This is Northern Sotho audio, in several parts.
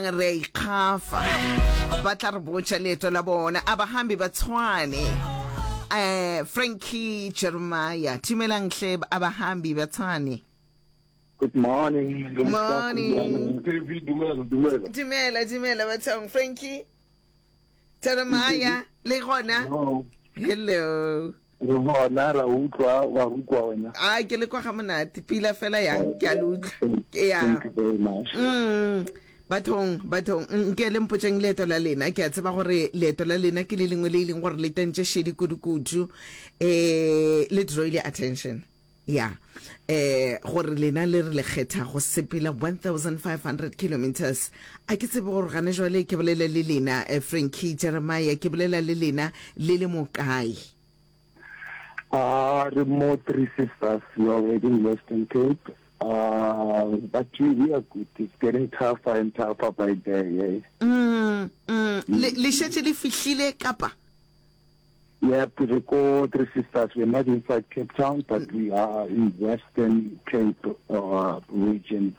Re a ikgafa. Ba tla re botša leeto la bona. Abahambi ba Tshwane. Eh, Frankie Jeremiah. Dumelang hle abahambi ba Tshwane. Good morning. Morning. Baby, dumela, dumela. Dumela, dumela bathong. Frankie Jeremiah le gona. No. Hello. Re gona ra utlwa wa rukwa wena. A ke le kwa ga monate pila fela yang ke a le utlwa. Ke ya. Thank you very much. Mm. Bathong, bathong, nke le mpotšeng leeto la lena. Ke a tseba gore leeto la lena ke le lengwe le e leng gore le tentše šedi kudu-kudu. Eh, le drawile attention. Ya. Eh, gore lena le re le kgetha go sepela 1500 kilometers. A ke tsebe gore gane jwale ke bolela le lena, eh, Frankie Jeremiah, ke bolela le lena le le mo kae? Uh, re mo Three Sisters, we are already in Western Cape. Uh, but we, we are good. It's getting tougher and tougher by day. Eh? Mm, mm. Le, le šetše le fihlile kapa? Yep, re ko Three Sisters. We're not inside Cape Town, but we are in Western Cape uh, region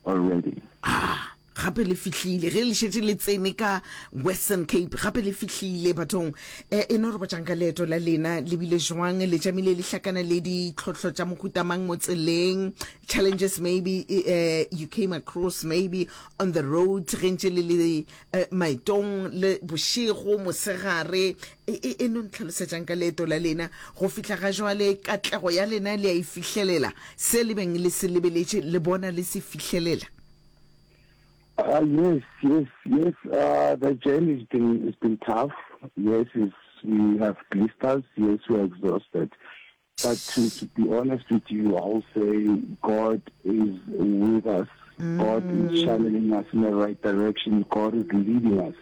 already. Ah, gape le fihlile ge le šetše le tsene ka Western Cape gape le fihlile bathong eh, e no re botšang ka leeto la lena le bile jwang le tšamile le hlakana le ditlhohlo tša mohuta mang mo tseleng challenges maybe eh, you came across maybe on the road ge ntše le le Eh, maetong le bošego, mosegare. E, e, e no ntlhalosetšang ka leeto la lena go fihla ga jwale, katlego ya lena le a e fihlelela, se le beng le se lebeletše le bona le se fihlelela? Uh, yes, yes, yes. Uh, the journey has been, it's been tough. Yes, it's, we have blisters. Yes, we are exhausted. But to, to be honest with you, I'll say God is with us. Mm. God is channeling us in the right direction. God is leading us.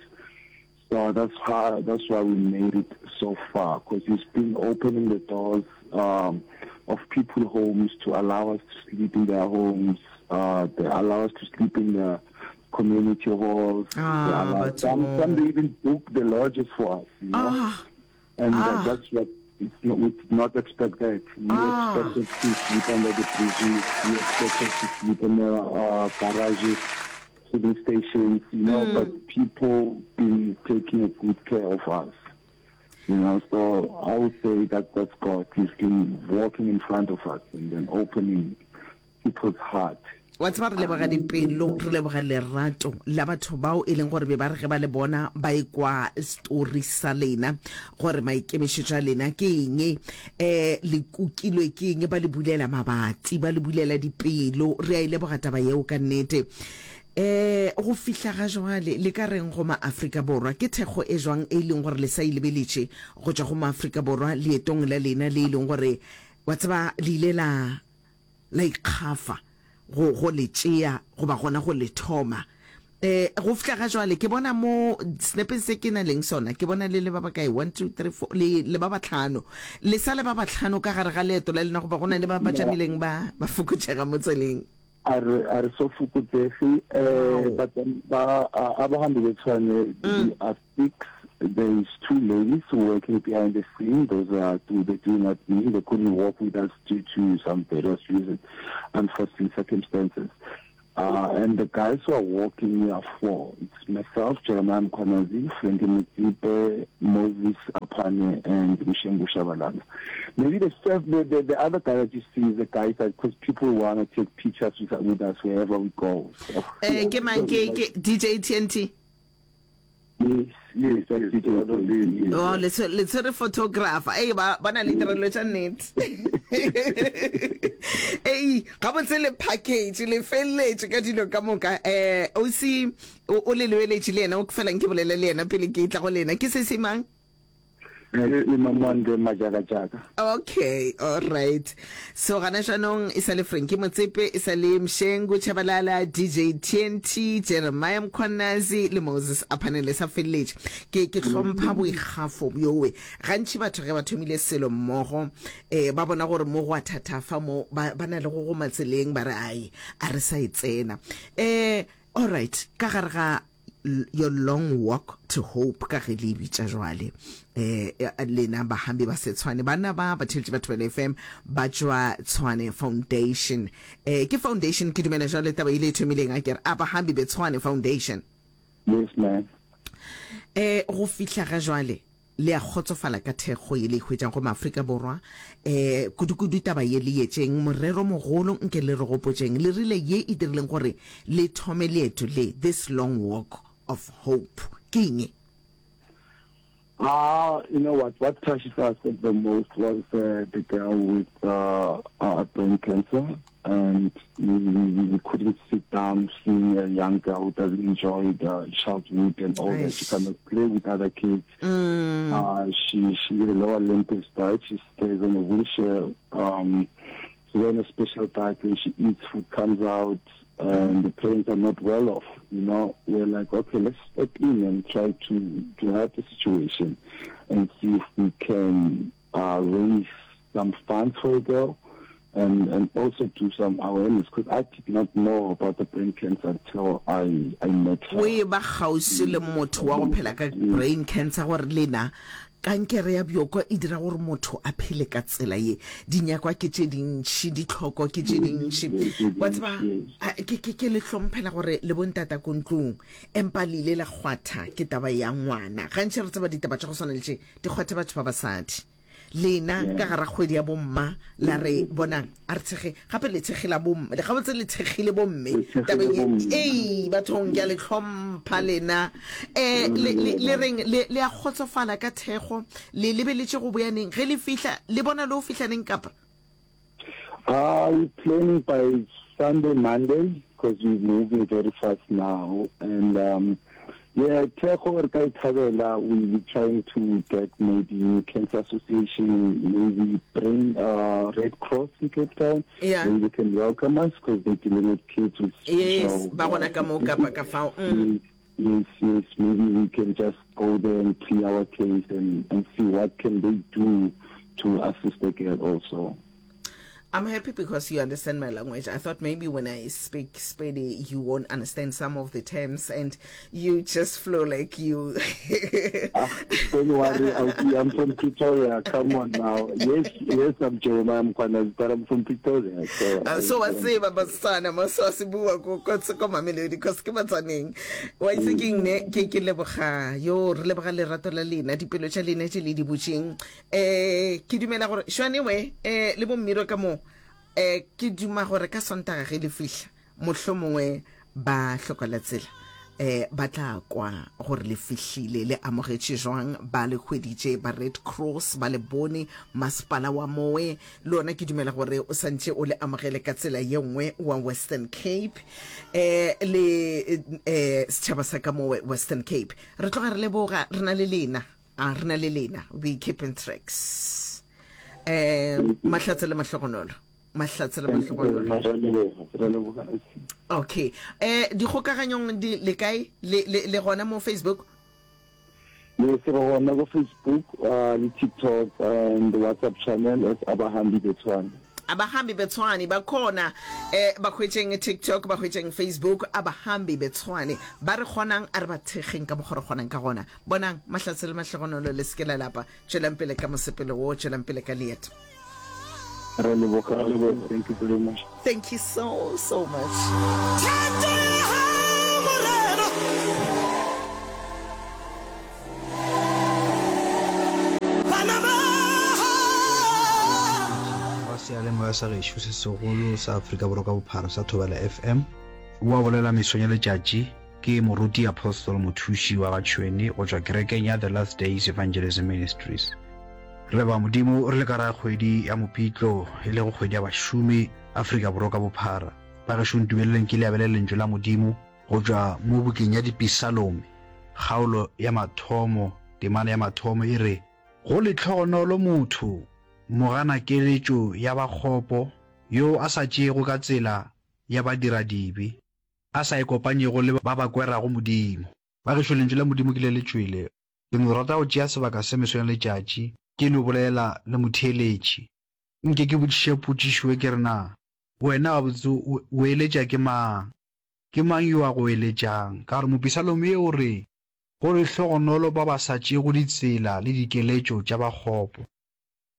So that's how that's why we made it so far because He's been opening the doors um, of people homes to allow us to sleep in their homes. Uh, they allow us to sleep in the community halls. Ah, allow, some, some they even book the lodges for us. You know? Ah. And ah. that's what it's not, we did not expect that. We ah. expected to sleep under the bridges. We expected to sleep in the uh, garages, filling stations, you know, mm. but people been taking a good care of us. You know, so I would say that that's God. He's been walking in front of us and then opening people's heart. Wa tseba, re leboga dipelo, re leboga lerato la batho bao e leng gore be ba re ge ba le bona ba ekwa story sa lena gore maikemišetšo a lena ke eng, um le kukilwe ke eng, ba le bulela mabati, ba le bulela dipelo. Re a e leboga taba yeo ka nnete. Um go fihla ga jwale le ka reng go Maafrika Borwa? Ke thekgo e jwang e leng gore le sa e lebeletše go tšwa go Maafrika Borwa leetong la lena le e leng gore wa tseba le ile la la ikgafa go, go le tšea goba gona go le thoma. Eh, go fihla ga jwale ke bona mo senepeng se ke na leng sona, ke bona le le ba bakae? One, two, three, four, le, le ba bahlano. Le sa le ba bahlano ka gare ga leeto la lena goba go na le ba ba tšamileng ba, ba fokotšega mo tseleng? A re, a re so fokotsege, eh, Wow. but ba, a, abahambi beTshwane, we are Six, there is two ladies working behind the scene, those are two, they do not mean they couldn't walk with us due to some various reasons, unforeseen circumstances. Uh, and the guys who are walking, we are four. It's myself, Jeremiah Mkhwanazi, Frankie Motsipe, Moses Apane, and Mshengu Shabalala. Maybe the, the, the, the other guy that you see is the guy that, because people want to take pictures with, with us wherever we go. So, Eh, ke mang ke ke DJ TNT? Yes, yes, that's yes, yes. Oh, le tshwere le tshwere photographer. Ei ba ba na le tirelo tša nnete. Ei, gabotse le package le feleletše ka dilo ka moka. Eh, o si o le lebeletše le yena o felang ke bolele le yena pele ke tla go lena. Ke se se mang? Le Mamonde Majakajaka. Okay, all right. So gana jaanong e sa le Frankie Motsepe, e sa le Mshengu Chabalala, DJ TNT, Jeremiah Mkhwanazi le Moses Aphane le sa feleletše. Ke ke hlompha boikgafo bjowe. Gantši batho ge ba thomile selo mmogo eh ba bona gore mo go a thathafa mo ba ba na le go goma tseleng ba re ai a re sa e tsena. Eh all right, ka gare ga. Your long walk to hope ka ge le e bitša jwale. Eh, lena bahambi ba Setshwane, banna ba ba theletše ba Thobela FM ba tšwa Tshwane Foundation. Eh, ke foundation ke dumela jwale taba ile e thomileng a kere Abahambi be Tshwane Foundation. Yes ma'am. Eh, go fihla ga jwale Le a kgotsofala ka thekgo ye le e hwetšang go Maafrika Borwa, eh, kudukudu taba ye le yetšeng morero mogolo, nke le re gopotšeng, le rile ye e dirileng gore le thome leeto le, this long walk of hope, ke eng ye? Ah, you know what, what touches us the most was uh, the girl with uh, uh, brain cancer. And we, we, we couldn't sit down seeing a young girl who doesn't enjoy the childhood and all that. She cannot play with other kids. Mm. Uh, she she the lower limb is died. She stays on a wheelchair. Um, she's on a special diet when she eats, food comes out, and the parents are not well off. You know, we're like, okay, let's step in and try to to help the situation and see if we can uh, raise some funds for a girl and, and also do some awareness because I did not know about the brain cancer until I, I met her. O e ba kgauswi le motho wa go phela ka brain cancer gore lena kankere ya bjoko e dira gore motho a phele ka tsela ye. Dinyakwa ke tše dintši, ditlhoko ke tše dintši. Wa tseba, ke, ke, ke le hlomphela gore le bontata ko ntlong, empa le ile la kgwatha ke taba ya ngwana. Gantši re tseba ditaba tša go swana le tše di kgwatha batho ba basadi. Lena ka gara kgwedi ya bomma la re bonang a re thekge gape le thekgela bomme le gabotse le thekgile bomme tabeng ye ei bathong ke a le hlompha lena um le, le, le reng le, le a kgotsofala ka thekgo le lebeletše go boya neng ge le fihla le bona le o fihla neng kapa Uh, we're planning by Sunday, Monday, because we're moving very fast now. And um, yeah, thekgo re ka e thabela, we we trying to get maybe Cancer Association, maybe bring uh, Red Cross in Cape Town. Yeah. Maybe they can welcome us because they're dealing with kids with yes special, ba gona ka mo kapa ka fao mm. Yes, yes, maybe we can just go there and plea our case and, and see what can they do to assist the girl also. I'm happy because you understand my language. I thought maybe when I speak Spedi, you won't understand some of the terms and you just flow like you. ah, don't worry, I'm from Pretoria. Come on now. Yes, yes, I'm Jeremiah Mkhwanazi, but I'm from Pretoria. So, uh, so wa tseba Batswana mo so se bua ko ko ko Mamelodi because ke Batswaneng. Wa itse ke ne ke ke leboga yo re leboga lerato la lena dipelo tša lena tše le di butšeng Eh, ke dumela gore šwane we eh, le bommiro ka mo eh, ke duma gore ka sontaga ge le fihla mohlomongwe ba hlokola tsela eh ba tla kwa gore le fihlile le amogetše jwang ba le hweditše ba Red Cross ba le bone masepala wa mowe le ona ke dumela gore o santše o le amogele ka tsela ye nngwe wa Western Cape eh le eh setšhaba sa ka mowe Western Cape re tloga re leboga re na le lena A re na le lena, we keep in tracks. Eh, mahlatse le mahlogonolo. Mahlatse le mahlogonolo. Okay. Eh, dikgokaganyong di le kae? Le, le, le gona mo Facebook? Yes, re gona go Facebook, uh, le TikTok and the WhatsApp channel at Abahambi Betshwane. Abahambi Betshwane ba khona eh ba hwetšeng TikTok ba hwetšeng Facebook Abahambi Betshwane ba re kgonang a re ba thekgeng ka mokgwa re kgonang ka gona Bonang, mahlatse le mahlogonolo, le se ke la lapa. Tšwelang pele ka mosepelo wo, tšwelang pele ka leeto. Re leboga, thank you very much. Thank you so, so much. Wa seyalemoya sa gešo se segolo sa Afrika Borwa ka bophara sa Thobela FM. O a bolela mesong ya letšatši. Ke Moruti Apostle Mothuši wa ga Tšhwene go tšwa kerekeng ya The Last Days Evangelism Ministries. Re leboga Modimo re le ka ra kgwedi ya Mopitlo e lego kgwedi ya bašomi Afrika Borwa ka bophara. Bagešo ntumeleleng ke le abele lentšu la Modimo go tšwa mo bukeng ya Dipisalome kgaolo ya mathomo temana ya mathomo e re, Go lehlogonolo motho moganakeletšo ya bakgopo yo a sa tšeego ka tsela ya badiradibe. a sa ikopanyego le ba ba kwerago Modimo. Bagešo, Lentšu la Modimo ke le le tšwele. Ke no rata go tšea sebaka se mesong ya letšatši ke no bolela le motheeletši. Nke ke botšiše potšišo ye ke re, Na wena gabotse o eletša ke mang? Ke mang yo a go eletšang? Ka gore mopisalome ye o re, Go lehlogonolo ba ba sa tšeego ditsela le dikeletšo tša ba kgopo.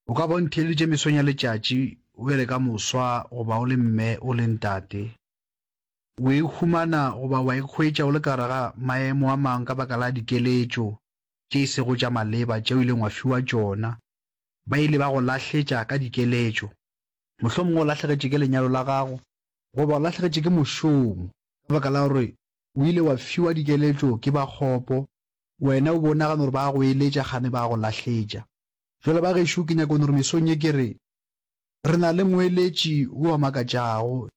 O ka ba o ntheeleditše mesong ya letšatši, o bjale ka moswa goba o le mme, o le ntate. O e humana goba wa ikhwetša o le ka gare ga maemo a mangwe ka baka la dikeletšo tše e sego tša maleba tše o ileng wa fiwa tšona. Ba ile ba go lahletša ka dikeletšo. Mohlomongwe o lahlegetše ke lenyalo la gago goba o lahlegetše ke mošomo ka baka la gore o ile wa fiwa dikeletšo ke ba kgopo, wena o be o nagana gore ba a go eletša kgane ba a go lahletša. Bjale ba gešo ke nyaka gore mesong ye ke re, re na le moeletši yo a makatšago,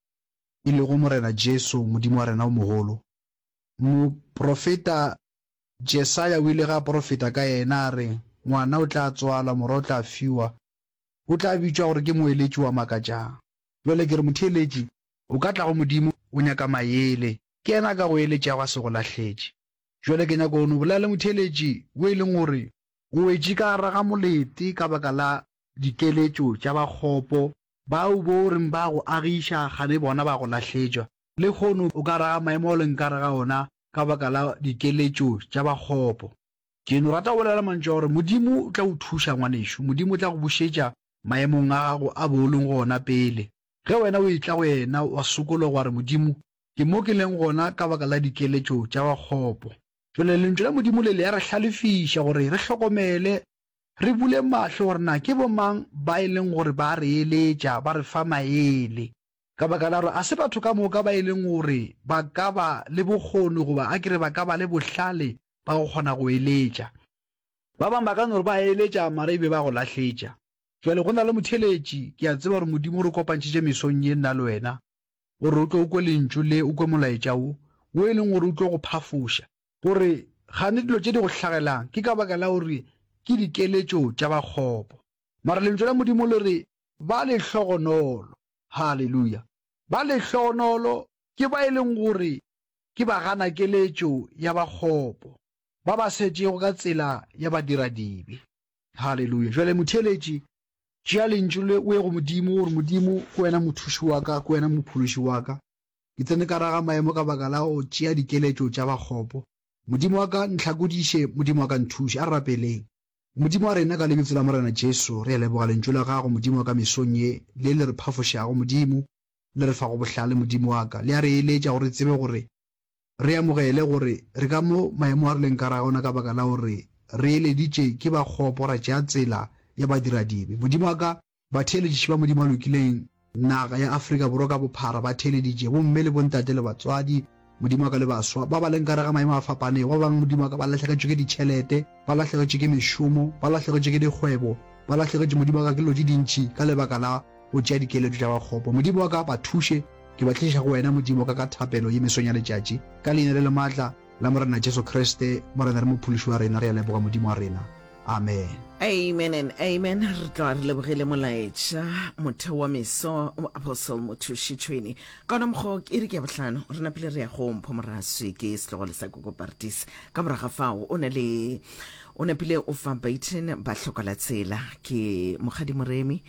e lego Morena Jesu, Modimo wa rena o mogolo. Moprofeta Jesaya o ile ge a porofeta ka yena a re, Ngwana o tla tswalwa, morwa o tla fiwa, o tla bitšwa gore ke Moeletši wa makatšang. Bjale ke re motheeletši, o ka tla go Modimo o nyaka maele, ke yena a ka go eletšago a se go lahletše. Bjale ke nyaka go no bolela le motheeletši wo e leng gore o wetše ka gare ga molete ka baka la dikeletšo tša ba kgopo, bao bo reng ba go agiša kgane bona ba go lahletšwa. Lehono o ka gare ga maemo ao leng ka gare ga ona ka baka la dikeletšo tša ba kgopo. Ke no rata go bolela mantšu a gore Modimo o tla go thuša ngwanešu, Modimo o tla go bušetša maemong a gago a bo o leng go ona pele. Ge wena o etla go yena wa sokologa wa re, Modimo, ke mo ke leng gona ka baka la dikeletšo tša ba kgopo. Bjale Lentšu la Modimo le le a re hlalefiša gore re hlokomele, re bule mahlo gore na ke bomang ba e leng gore ba re eletša, ba re fa maele. Ka baka la gore a se batho ka moka ba e leng gore ba ka ba le bokgoni goba a ke re ba ka ba le bohlale ba go kgona go eletša. Ba bangwe ba ka no re ba eletša mara e be ba go lahletša. Bjale go na le motheeletši, ke a tseba gore Modimo o re kopantšhitše mesong ye nna le wena, gore o tlo o kwe Lentšu le, o kwe Molaetša wo, wo e leng gore o tlo go phafoša. Gore gane dilo tše di go hlagelang ke ka baka la gore ke dikeletšo tša ba kgopo. Mara Lentšu la Modimo le re, Ba lehlogonolo, haleluya, ba lehlogonolo ke ba e leng gore ke ba gana keletšo ya ba kgopo, ba ba setšego ka tsela ya badiradibe. Haleluya! Bjale, motheeletši, tšea Lentšu le o ye go Modimo, o re, Modimo, ke Wena Mothuši wa ka, ke Wena Mophološi wa ka. Ke tsene ka raga maemo ka baka la go tšea dikeletšo tša bakgopo. Modimo wa ka, ntlhakodiše, Modimo wa ka, nthuše. A re rapeleng. Modimo wa rena, ka Lebitso la Morena Jesu, re a leboga Lentšu la Gago, Modimo wa ka, mesong ye, le le re phafošago, Modimo, le re fago bohlale, Modimo wa ka. Le a re eletša gore re tsebe gore Re amogele gore re ka mo maemo a re leng ka ra ona ka baka la gore re eleditše ke ba kgopo ra tšea tsela ya badiradibe. Modimo wa ka, batheeletši ba Modimo a lokileng, naga ya Afrika Borwa ka bophara ba theeleditše, bomme le bontate le batswadi, Modimo wa ka, le baswa ba ba leng ka re ga maemo a fapanego, ba bangwe, Modimo wa ka, ba lahlegetšwe ke ditšhelete, ba lahlegetšwe ke mešomo, ba lahlegetšwe ke dikgwebo, ba lahlegetšwe, Modimo wa ka, ke dilo tše dintši ka lebaka la go tšea dikeletšo tša ba kgopo. Modimo wa ka, ba thuše. Ke ba tliša go Wena, Modimo wa ka, ka thapelo ye mesong ya letšatši, ka Leina le le maatla la Morena Jesu Kriste, Morena le Mophološi wa rena, re a leboga, Modimo wa rena. Amen. Amen and amen. Re tloga re lebogile molaetša motheo wa meso Apostle Mothuši Tšhwene. Ka ona mokgwa ke iri ke ya bohlano re napile re ya go Mpho Moraswi ke setlogolo sa Koko Partis. Ka morago ga fao o na le o napile o fa Baiten ba hloka la tsela ke Mokgadi Moremi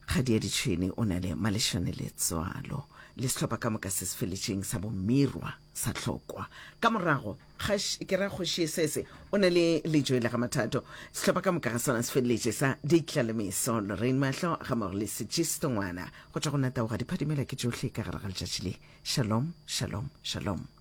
Kgadi ya Ditšhwene o na le Malešane Letswalo le sehlopha ka moka se se feletšeng sa bomirwa sa hlokwa. Ka morago, kgaš, ke ra Kgoši Esese o na le Lejoe la ga Mathato. Sehlopha ka moka ga sona se feleletše sa Ditlalemeso, Lorraine Mahlo gammogo le Sejisto Ngwana. Go tšwa go nna Taoga Diphadimela ke tšohle ka gare ga letšatši le. Shalom, shalom, shalom.